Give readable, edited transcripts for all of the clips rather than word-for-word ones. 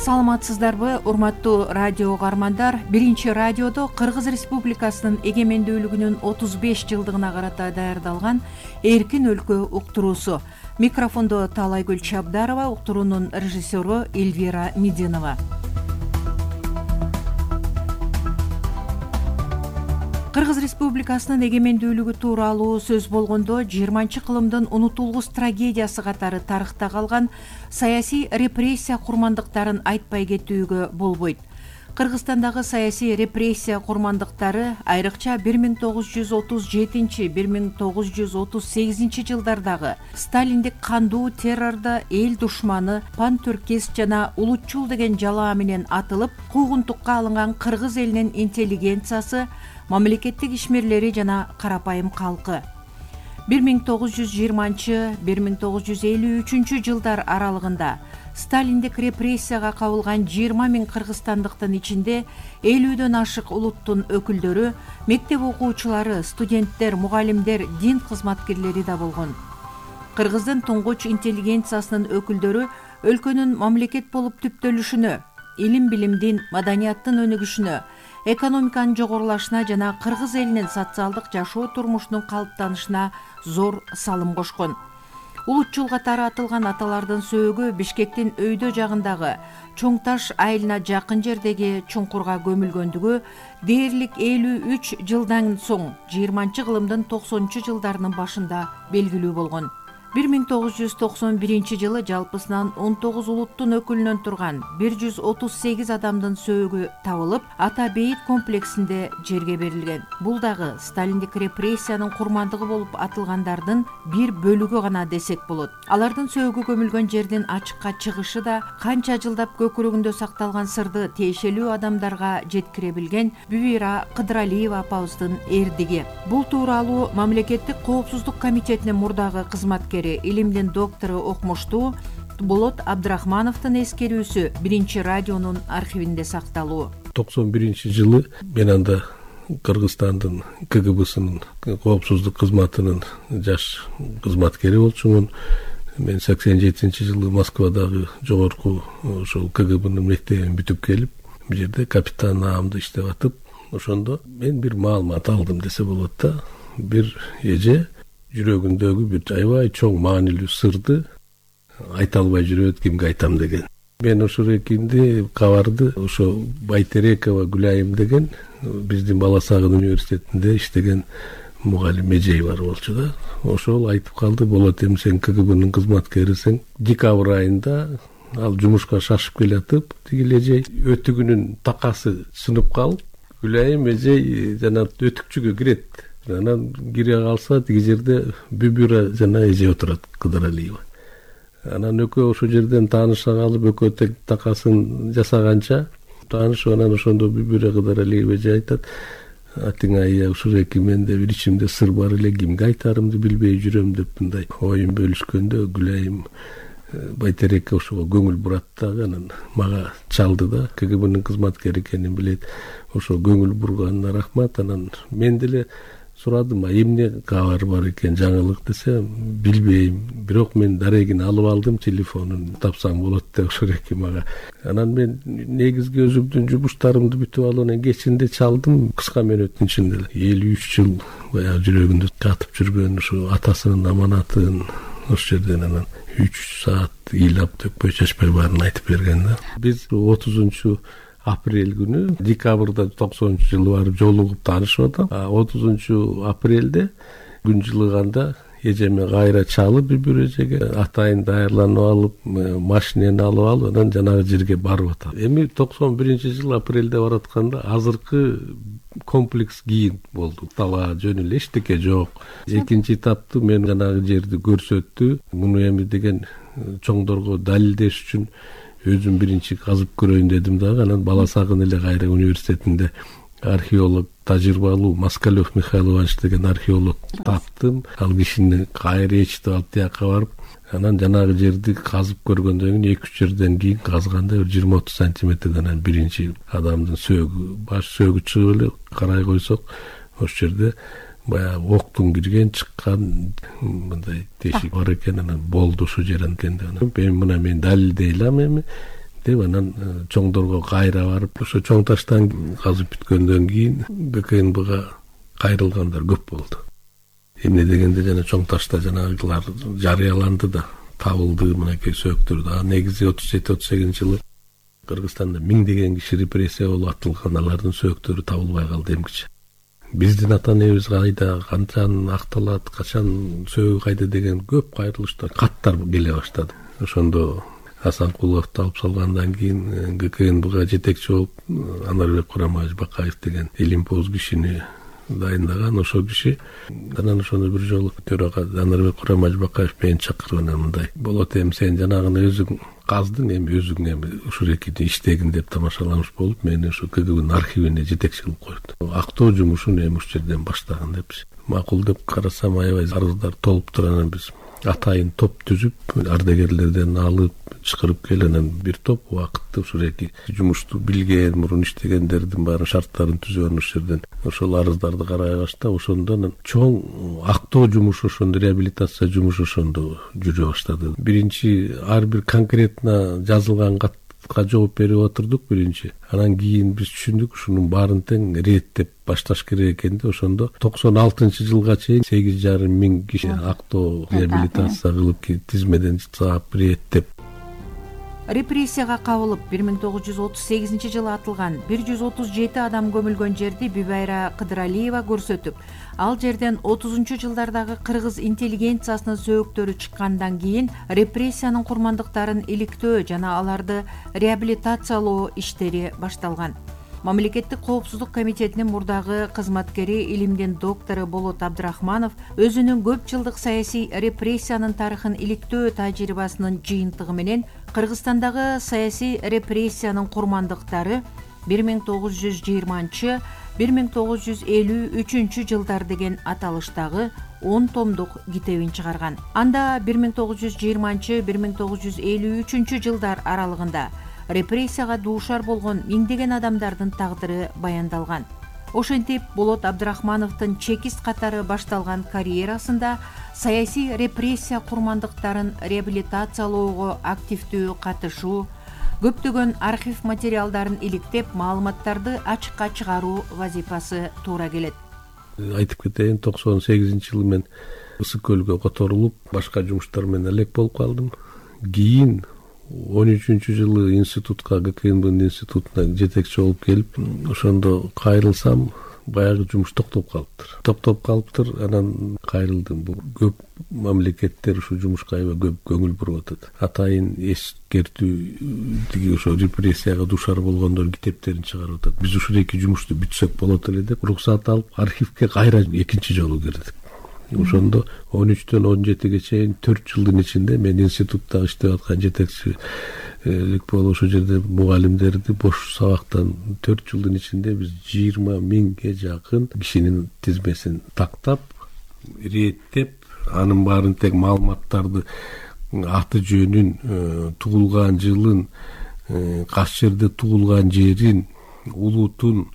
Саламатсыздарбы, урматтуу радио угармандар? Биринчи радиодо Кыргыз Республикасынын эгемендүүлүгүнүн 35 жылдыгына карата даярдалган Эркин өлкө уктуруусу. Микрофондо Таалайгүл Чабдарова, уктуруунун режиссеру Эльвира Мединова. Кыргыз Республикасынын эгемендүүлүгү тууралуу сөз болгондо 20-кылымдын унутулгус трагедиясы катары тарыхта калган саясий репрессия курмандыктарын айтпай кетүүгө болбойт. Кыргызстандагы саясий репрессия курмандыктары айрыкча 1937-1938 жылдардагы сталиндик кандуу террордо эл душманы, пантүркес жана улутчул деген жалаа менен атылып, куугунтукка алынган кыргыз элинин интеллигенциясы, мамлекеттик ишмерлери жана карапайым калкы 1920-1953 жылдар аралыгында сталиндик репрессияга кабылган 20 000 кыргызстандыктын ичинде 50дөн ашык улуттун өкүлдөрү, мектеп окуучулары, студенттер, мугалимдер, дин кызматкерлери да болгон. Кыргыздын туңгуч интеллигенциясынын өкүлдөрү өлкөнүн мамлекет болуп түптөлүшүнө, илим-билимдин, маданияттын өнүгүшүнө, экономиканын жогорулашына жана кыргыз элинин социалдык жашоо турмушунун калыптанышына зор салым кошкон. Улутчул катары атылган аталардын сөөгү Бишкектин өйдө жагындагы Чоң Таш айылына жакын жердеги чуңкурга көмүлгөндүгү дээрлик 53 жылдан соң 20-кылымдын 90-жылдарынын башында белгилүү болгон. 1991 жылы жалпысынан 19 улуттун өкүлүнөн турган 138 адамдын сөөгү табылып, Ата бейит комплексинде жерге берилген. Бул дагы сталиндик репрессиянын курмандыгы болуп атылгандардын бир бөлүгү гана десек болот. Алардын сөөгү көмүлгөн жердин ачыкка чыгышы да канча жылдап көкүрөгүндө сакталган сырды тиешелүү адамдарга жеткире билген Бүбира Кыдыралиева апабыздын эрдиги. Бул тууралуу Мамлекеттик коопсуздук комитетинин мурдагы кызматкери, илимдин доктору окумуштуу Болот Абдрахмановдун эскерүүсү биринчи радионун архивинде сакталуу. 91-жылы мен анда Кыргызстандын КГБсынын коопсуздук кызматынын жаш кызматкери болчумун. Мен 87-жылы Москвадагы жогорку ошол КГБнын мектебин бүтүп келип, бул жерде капитан наамда иштеп атып, ошондо мен бир маалымат алдым десе болот да. Бир эже жүрөгүндөгү бир аябай чоң маанилүү сырды айта албай жүрөт, кимге айтам деген. Мен ошол экинди кабарды ошо Байтерекова Гүлайым деген биздин Бала Сагын университетинде иштеген мугалим эжей бар болчу да. Ошол айтып калды, болот эми сен КГБнын кызматкерисиң. Декабрь айында ал жумушка шашып келатып, тиги эжей өтүгүнүн такасы сынып калып, Гүлайым эжей жана өтүкчүгө кирет. Анан кире калса, тиги жерде Бүбүра жана эже отурат, Кыдыралиева. Анан экөө ошол жерден тааныша калып, экөө тең такасын жасаганча таанышып, анан ошондо Бүбүра Кыдыралиева эже айтат: "Атиңай, ушул эки менде бир ичимде сыр бар эле, кимге айтарымды билбей жүрөм" деп мындай оюн бөлүшкөндө, Гүлайым Байтерекке ошого көңүл бурат дагы, анан мага чалды да, КГБнын кызматкери экенин билет. Ошо көңүл бурганына рахмат. Анан мен деле сурадым, эмне кабар бар экен, жаңылык десе, билбейм. Бирок мен дарегин алып алдым, телефонун тапсаң болот деп ошол эки мага. Анан мен негизги өзүмдүн жумуштарымды бүтүп алып, анан кечинде чалдым, кыска мөөнөттүн ичинде 53 жыл баягы жүрөгүндө жатып жүргөн ушу атасынын аманатын ошол жерден анан 3 саат ыйлап төкпөй чачпай баарын айтып берген да. Биз 30 апрель күнү, декабрда 90-жылы барып жолугуп таанышып атам. 30 апрелде күн жылыганда эжеме кайра чалып, Бүбүр эжеге атайын даярланып алып, машинени алып алып, анан жанагы жерге барып атам. Эми 91-жылы апрелде баратканда азыркы комплекс кийин болду. Талаа жөн эле, эчтеке жок. Экинчи этапты мен жанагы жерди көрсөттү. Муну эми деген чоңдорго далилдеш үчүн өзүм биринчи казып көрөйүн дедим дагы. Анан Бала Сагын эле кайра университетинде археолог, тажрыйбалуу Москалев Михаил Иванович деген археолог таптым. Ал кишини кайра ээрчитип алып тияка барып, анан жанагы жерди казып көргөндөн кийин 2-3 жерден кийин казганда 20-30 сантиметрден анан биринчи адамдын сөөгү, баш сөөгү чыгып эле карай койсок, ошол жерде баягы октун кирген, чыккан мындай тешик бар экен. Анан болду ошо жерен экен деп. Эми мына мен далилдей алам, эми деп анан чоңдорго кайра барып ошо чоң таштан казып бүткөндөн кийин ГКНБга кайрылгандар көп болду. Эмне дегенде жана чоң ташта жанагылар жарыяланды да, табылды мынакей сөөктөр. Негизи 37-38 жылы Кыргызстанда миңдеген киши репрессия болуп атылган, алардын сөөктөрү табылбай калды эмгиче. Биздин ата энебиз кайда, качан акталат, качан сөөгү кайда деген көп кайрылыштар, каттар келе баштады. Ошондо Асанкуловду алып салгандан кийин ГКНБга жетекчи болуп Анарбек Курамбаевич Бакаев деген илимпоз кишини дайындаган. Ошол киши анан ошону бир жолу төрага Анарбек Курамбаевич Бакаев мени чакырып анан мындай: болот, эми сен жанагыны өзүң каздың, эми өзүң эми ушул экини иштегин деп тамашаламыш болуп, мени ушу КГБнын архивине жетекчи кылып коюпту. Актоо жумушун эми ушул жерден баштаган депчи. Макул деп карасам, аябай арыздар толуптур. Анан биз атайын топ түзүп, ардагерлерден алып чакырып келип, анан бир топ убакытты ушул эки жумушту билген, мурун иштегендердин баарын шарттарын түзүп, анан ушул жерден ошол арыздарды карай баштап, ошондо анан чоң актоо жумушу, ошондо реабилитация жумушу ошондо жүрө баштады. Биринчи ар бир конкретно жазылган катка жооп берип отурдук биринчи. Анан кийин биз түшүндүк, ушунун баарын тең реттеп башташ керек экен да. Ошондо 96-жылга чейин 8,5 миң киши актоо реабилитация кылып, тизмеден саап реттеп. Репрессияга кабылып 1938 жылы атылган 137 адам көмүлгөн жерди Бибайра Кыдыралиева көрсөтүп, ал жерден 30-жылдардагы кыргыз интеллигенциясынын сөөктөрү чыккандан кийин репрессиянын курмандыктарын иликтөө жана аларды реабилитациялоо иштери башталган. Мамлекеттик коопсуздук комитетинин мурдагы кызматкери, илимдин доктору Болот Абдрахманов өзүнүн көп жылдык саясий репрессиянын тарыхын иликтөө тажрыйбасынын жыйынтыгы менен Кыргызстандагы саясий репрессиянын курмандыктары 1920-1953 жылдар деген аталыштагы 10 томдук китебин чыгарган. Анда 1920-1953 жылдар аралыгында репрессияга дуушар болгон миңдеген адамдардын тагдыры баяндалган. Ошентип, Болот Абдрахмановдун чекист катары башталган карьерасында саясий репрессия курмандыктарын реабилитациялоого активдүү катышуу, көптөгөн архив материалдарын иликтеп, маалыматтарды ачыкка чыгаруу вазифасы туура келет. Айтып кетейин, 98-жылы мен Ысык көлгө которулуп, башка жумуштар менен элек болуп калдым. Кийин 13-жылы институтка, ГКНБнын институтуна жетекчи болуп келип, ошондо кайрылсам, баягы жумуш токтоп калыптыр. Анан кайрылдым. Бул көп мамлекеттер ушул жумушка аябай көп көңүл буруп атат. Атайын эскертүү, ошо репрессияга дуушар болгондор китептерин чыгарып атат. Биз ушул эки жумушту бүтсөк болот эле деп уруксат алып, архивге кайра экинчи жолу кирдик. Ошондо 13-төн 17-ге чейин 4 жылдын ичинде мен институтта иштеп аткан жетекчилик болуп, ошол жерде мугалимдерди бош сабактан 4 жылдын ичинде биз 20 миңге жакын кишинин тизмесин тактап, реттеп, анын баарын тең маалыматтарды, аты жөнүн, туулган жылын, кайсы жерде туулган жерин, улутун,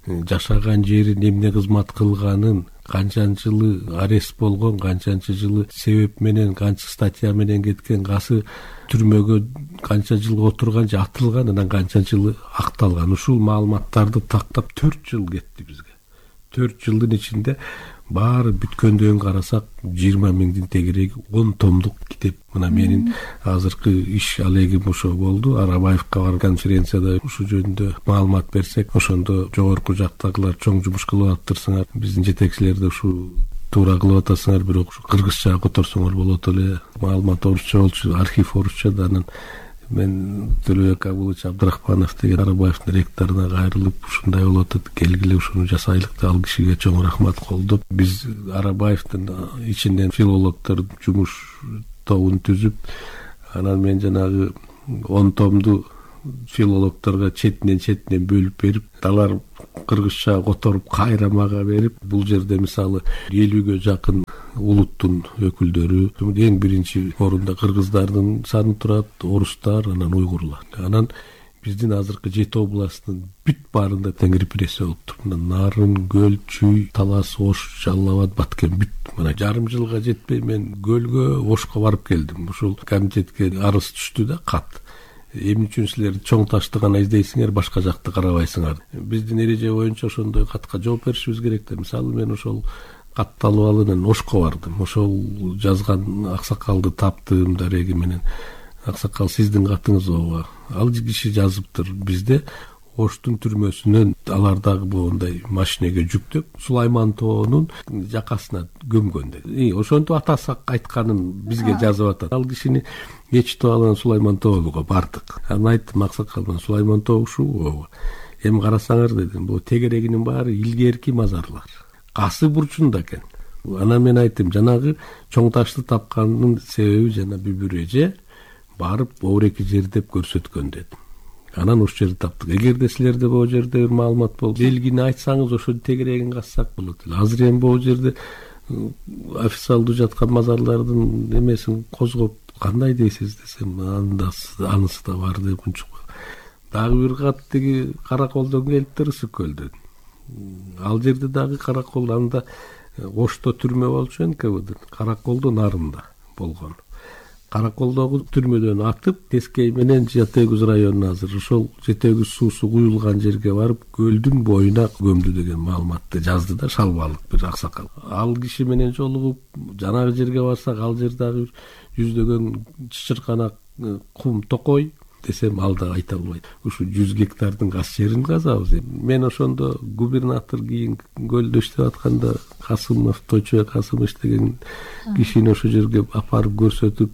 жашаган жерин, эмне кызмат кылганын, канчанчы жылы арест болгон, канчанчы жылы себеп менен, канча статья менен кеткен, кайсы түрмөгө канча жыл отурган же атылган, анан канчанчы жылы акталган. Ушул маалыматтарды тактап 4 жыл кетти бизге. 4 жылдын ичинде баары бүткөндөн карасак 20 миңдин тегереги 10 томдук китеп. Мына менин азыркы иш алегим ошо болду. Арабаевка бар конференцияда ушул жөнүндө маалымат берсек, ошондо жогорку жактагылар чоң жумуш кылып атыптырсыңар, биздин жетекчилерди ушу туура кылып атасыңар, бирок ушу кыргызча которсоңор болот эле. Маалымат орусча болчу, архив орусча да. Анан мен Төлөбек Абулович Абдрахманов деген Арабаевдин ректоруна кайрылып, ушундай болуп атат, келгиле ушуну жасайлык деп, ал кишиге чоң рахмат колдоп, биз Арабаевдин ичинен филологдор жумуш тобун түзүп, анан мен жанагы 10 томду филологдорго четинен бөлүп берип, алар кыргызча которуп кайра мага берип, бул жерде мисалы 50ге жакын улуттун өкүлдөрү, эң биринчи орунда кыргыздардын саны турат, орустар, анан уйгурлар. Анан биздин азыркы 7 областтын бүт баарында тең репрессия болуптур. Нарын, Көл, Чүй, Талас, Ош, Жалал Абад, Баткен бүт. Мына жарым жылга жетпей мен Көлгө, Ошко барып келдим. Ушул комитетке арыз түштү да, кат. эмне үчүн силер чоң ташты гана издейсиңер, башка жакты карабайсыңар? Биздин эреже боюнча ошондой катка жооп беришибиз керек да. Мисалы мен ошол кат талыбалынан Ошко бардым. Ошол жазган аксакалды таптым дареги менен. Аксакал, сиздин катыңыз ооба. Ал киши жазыптыр бизде Оштун түрмөсүнөн алар дагы моундай машинеге жүктөп Сулайман тоонун жакасына көмгөн деди. Ошентип атасы айтканын бизге жазып атат. Ал кишини ечитип алган Сулайман тоонуга бардык. Анан айттым аксакалдан, Сулайман тоо ушул ооба. Эми карасаңар дедим, бул тегерегинин баары илгерки мазарлар. Касы бурчунда экен. Анан мен айттым, жанагы чоң ташты тапкандын себеби жана бүбүр эже барып оореки жердеп көрсөткөн дедим. Анан ошол жерди таптык. Эгерде силерде бул жерде бир маалымат болсо, белгини айтсаңыз ошо тегерегин кассак болот. Азыр эми бул жерде официалдуу жаткан мазарлардын эмесин козгоп кандай дейсиз десем, анысы да бар деп унчукпа. Дагы бир кат тиги Караколдон келиптир, Ысык-Көлдөн. Ал жерде дагы Каракол, анда Ошто түрмө болчу НКВД, Караколдон нарында болгон. Караколдогу түрмөдөн атып, Тескей менен Жете Өгүз районуна азыр ошол Жете Өгүз суусу куюлган жерге барып, көлдүн боюна көмдү деген маалыматты жазды да шалбалык бир аксакал. Ал киши менен жолугуп, жанагы жерге барсак, ал жер дагы жүздөгөн чычырканак кум токой десем, ал да айта албайт. Ушу 100 гектардын газ жерин казабыз. Мен ошондо губернатор кийин көлдө иштеп атканда Касымов, Тойчубек Касымов деген кишини ошол жерге апарып көрсөтүп,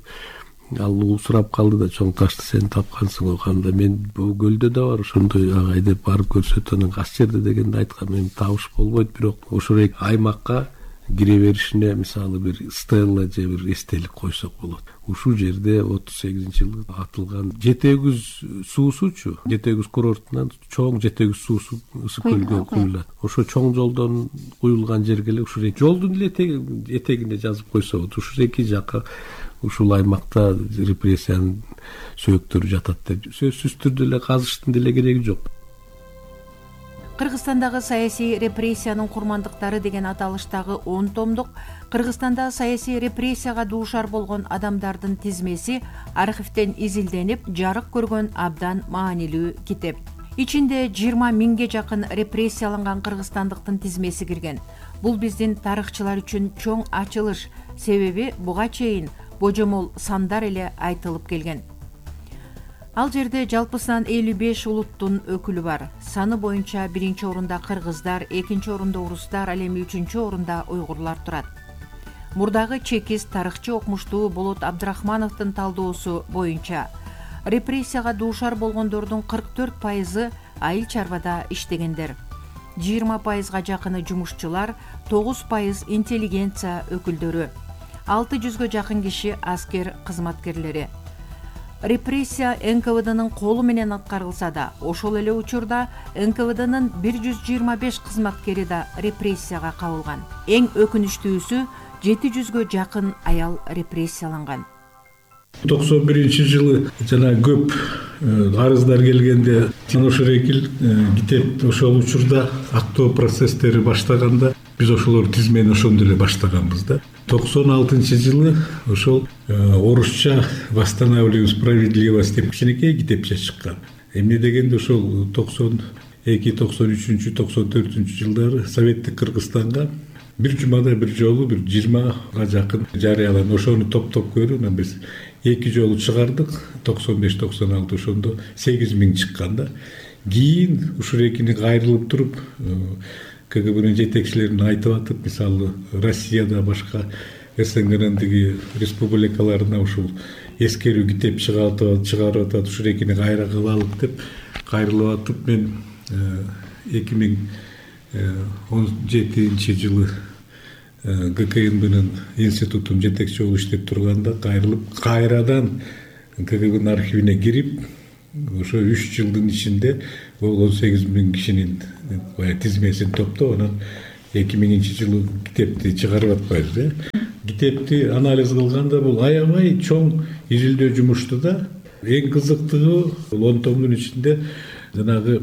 ал сурап калды да, чоң ташты сен тапкансың оканда. Мен бул көлдө да бар ошондой агай деп барып көрсөтүп, анан газ жерде дегенде айткам, эми табыш болбойт, бирок ошол аймакка кире беришине мисалы бир стелла же бир эстелик койсок болот. Ушул жерде 38-жылы атылган Жете Өгүз суусучу, Жете Өгүз курортунан чоң Жете Өгүз суусу Ысык-Көлгө куюлат. Ошо чоң жолдон куюлган жерге эле ушул жолдун эле этегине жазып койсо болот. Ушул эки жакка ушул аймакта репрессиянын сөөктөрү жатат деп сөзсүз түрдө эле казыштын деле кереги жок. Кыргызстандагы саясий репрессиянын курмандыктары деген аталыштагы 10 томдук Кыргызстанда саясий репрессияга дуушар болгон адамдардын тизмеси архивден изилденип, жарык көргөн абдан маанилүү китеп. Ичинде 20 миңге жакын репрессияланган кыргызстандыктын тизмеси кирген. Бул биздин тарыхчылар үчүн чоң ачылыш, себеби буга чейин божомол сандар эле айтылып келген. Ал жерде жалпысынан 55 улуттун өкүлү бар. Саны боюнча 1-чи орунда кыргыздар, 2-чи орунда орустар, ал эми 3-чү орунда уйгурлар турат. Мурдагы чекист тарыхчы окумуштуу Болот Абдрахмановдун талдоосу боюнча репрессияга дуушар болгондордун 44% айыл чарбада иштегендер. 20%га жакыны жумушчулар, 9% интеллигенция өкүлдөрү, 600гө жакын киши аскер кызматкерлери. Репрессия НКВДнын колу менен аткарылса да, ошол эле учурда НКВДнын 125 кызматкери да репрессияга кабылган. Эң өкүнүчтүүсү 700гө жакын аял репрессияланган. 91-жылы жана көп арыздар келгенде ошол экил китеп ошол учурда актоо процесстери баштаганда биз ошолор тизмени ошондо эле баштаганбыз да. 96-жылы ошол орусча «Восстанавливаем справедливость» деп кичинекей китепче чыккан. Эмне дегенде ошол 92, 93, 94 жылдары Советтик Кыргызстанга бир жумада бир жолу бир 20га жакын жарыяланды. Ошону топтоп көрүп, анан биз 2 жолу чыгардык. 95-96 ошондо 8000 чыккан да. Кийин ушул экини кайрылып туруп КГБнын жетекчилерин айтып атып, мисалы Россияда башка СНГнын тиги республикаларына ушул эскерүү китеп чыгарып атат, ушул экини кайра кылалык деп кайрылып атып, мен 2017 жылы ГКНБнын институтун жетекчи болуп иштеп турганда кайрадан КГБнын архивине кирип, ошо 3 жылдын ичинде бул 18.000 кишинин тизмесин топтоп, анан 2000-жылы китепти чыгарып атпайбыз. Китепти анализ кылганда бул аябай чоң изилдөө жумушту да. Эң кызыктыгы бул 10 томдун ичинде жанагы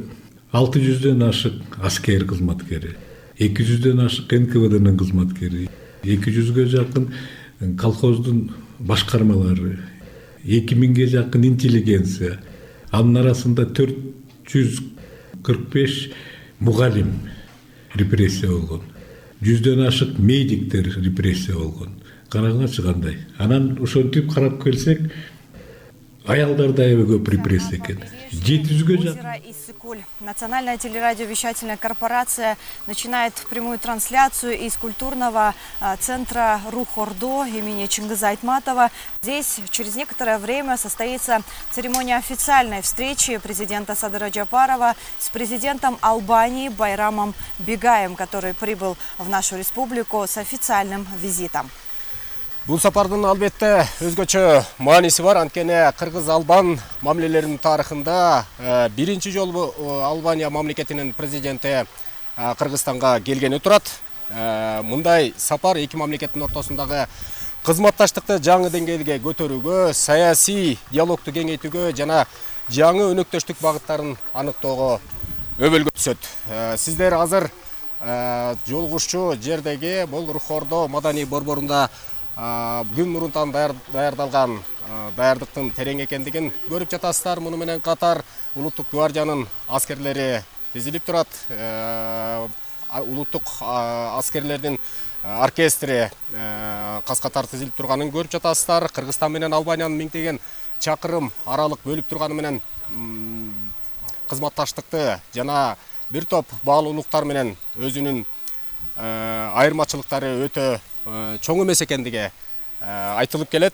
600дөн ашык аскер кызматкери, 200дөн ашык НКВДнын кызматкери, 200гө жакын колхоздун башкармалары, 2000ге жакын интеллигенция, Анын арасында 445 мугалим репрессия болгон. 100дөн ашык медиктер репрессия болгон. Караңызчы кандай. Анан ошентип карап келсек, аялдар да аябай көп репрессия экен. 700-гө жакын. Национальная телерадиовещательная корпорация начинает прямую трансляцию из культурного центра Рух-Ордо имени Чингиза Айтматова. Здесь через некоторое время состоится церемония официальной встречи президента Садыра Жапарова с президентом Албании Байрамом Бигаем, который прибыл в нашу республику с официальным визитом. Бул сапардын албетте өзгөчө мааниси бар. Анткени кыргыз-албан мамилелеринин тарыхында биринчи жолу Албания мамлекетинин президенти Кыргызстанга келгени турат. Мындай сапар эки мамлекеттин ортосундагы кызматташтыкты жаңы деңгээлге көтөрүүгө, саясий диалогту кеңейтүүгө жана жаңы өнөктөштүк багыттарын аныктоого өбөлгө түшөт. Сиздер азыр жолугушчу жердеги бул Рух-Ордо маданий борборунда күн мурунтан даярдалган даярдыктын терең экендигин көрүп жатасыздар. Муну менен катар улуттук гвардиянын аскерлери тизилип турат. Улуттук аскерлердин оркестри кас-катар тизилип турганын көрүп жатасыздар. Кыргызстан менен Албаниянын миңдеген чакырым аралык бөлүп турганы менен кызматташтыкты жана бир топ баалуулуктар менен өзүнүн айырмачылыктары өтө чоң эмес экендиги айтылып келет.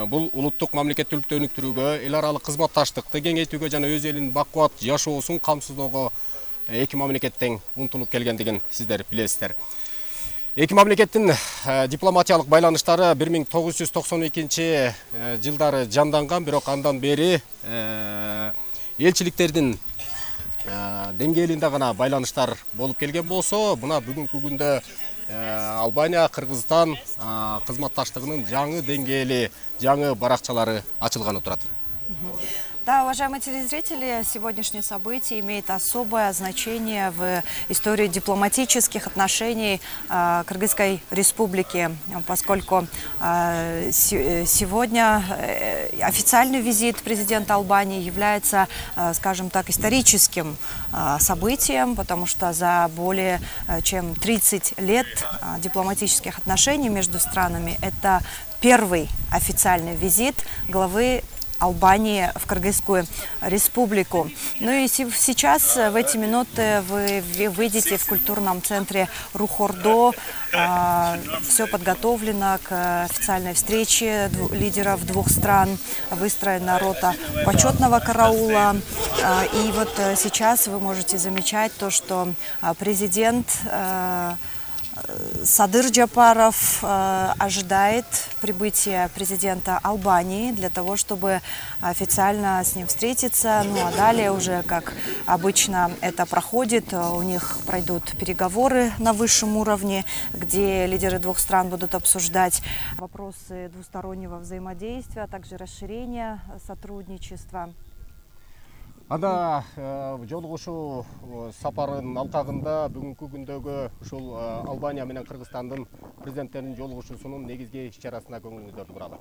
Бул улуттук мамлекеттүүлүктү өнүктүрүүгө, эл аралык кызматташтыкты кеңейтүүгө жана өз элинин бакубат жашоосун камсыздоого эки мамлекеттен умтулуп келгендигин сиздер билесиздер. Эки мамлекеттин дипломатиялык байланыштары 1992 жылдары жанданган, бирок андан бери элчиликтердин деңгээлинде гана байланыштар болуп келген болсо, мына бүгүнкү күндө Албания, Кыргызстан кызматташтыгынын жаңы деңгээли, жаңы баракчалары ачылганы турат. Да, уважаемые телезрители, сегодняшнее событие имеет особое значение в истории дипломатических отношений Кыргызской республики, поскольку сегодня официальный визит президента Албании является, скажем так, историческим событием, потому что за более чем 30 лет дипломатических отношений между странами это первый официальный визит главы Албании в Кыргызскую республику. Ну и сейчас, в эти минуты, вы выйдете в культурном центре Рух-Ордо. Все подготовлено к официальной встрече лидеров двух стран. Выстроена рота почетного караула. И вот сейчас вы можете замечать то, что президент Садыр Жапаров ожидает прибытия президента Албании для того, чтобы официально с ним встретиться. Ну а далее уже, как обычно это проходит, у них пройдут переговоры на высшем уровне, где лидеры двух стран будут обсуждать вопросы двустороннего взаимодействия, а также расширения сотрудничества. Анда жолугушуу сапарынын алкагында бүгүнкү күндөгү ушул Албания менен Кыргызстандын президенттеринин жолугушуусунун негизги иш-чарасына көңүлүңүздөрдү буралы.